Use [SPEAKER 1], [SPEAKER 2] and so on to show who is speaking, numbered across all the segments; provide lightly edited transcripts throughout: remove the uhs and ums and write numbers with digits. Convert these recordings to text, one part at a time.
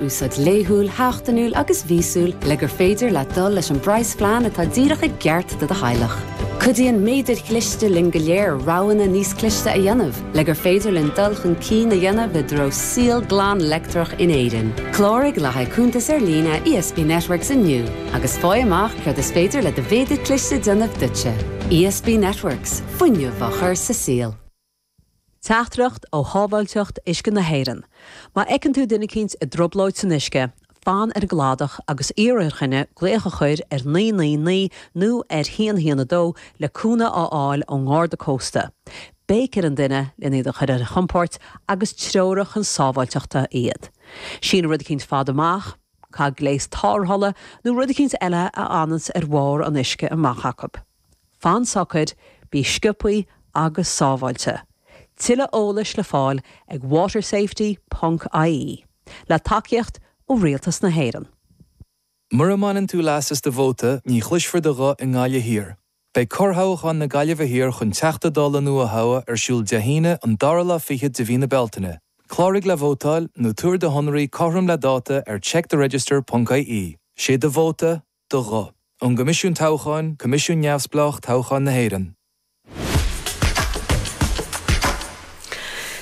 [SPEAKER 1] Úsáid laethúil, sheachtainiúil agus mhíosúil le gur féidir leat dul leis an bpraghasphlean atá díreach i gceart do do theaghlach. Cuidíonn méadair chliste linn go léir roghanna níos cliste a dhéanamh le gur féidir linn dul chun cinn a dhéanamh i dtreo saol glan leictreach in Éirinn. Cláraigh le haghaidh cuntas ar líne ESB Networks inniu agus faigh amach céard is féidir le do mhéadar cliste déanamh duitse. ESB Networks, fuinneamh á chur sa saol.
[SPEAKER 2] Teachtaireacht ó Shábháilteacht Uisce na hÉireann. Má fheiceann tú duine eicínt i dtrioblóid san uisce, fan ar an gcladach agus iarr ar dhuine glaoch a chur ar 999 nó ar 112 le cúnamh a fháil ón nGarda Cósta. Béic ar an duine len iad a chur ar a gcompord agus treoraigh chun sábháilteachta iad. Sín rud eicínt fada amach, caith gléas tarrthála nó rud eicínt eile a fhananns ar bharr an uisce amach acu. Fan socair, bí sciobthaí agus sábháilte. Tuilleadh eolais le fáil ag watersafety ponc ie. Le tacaíocht ó Rialtas na hÉireann.
[SPEAKER 3] Mura mbaineann tú leas as do vóta, ní chloisfear do ghuth i nGaillimh Thiar. Beidh corrthoghchán na Gaillimhe Thiar chun Teachta Dála nua a thoghadh ar siúl Dé hAoine, an dara lá fichead de mhí na Bealtaine. Cláraigh le vótáil nó tabhair do shonraí cothrom le dáta ar checktheregister ponc ie. Sé do vóta, do ghuth. Ón gCoimisiún Toghcháin, Coimisiún Neamhspleách Toghcháin na hÉireann.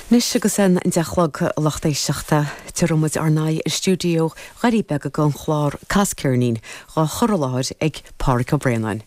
[SPEAKER 1] Anois agus an 10 a chlog, a lucht éisteachta, tabharfaidh muid ár n-aghaidh ar stiúideo Dhoirí Beaga don chlár Cas Ceirnín, dhá chur i láthair ag Pádhraic Ó Braonáin.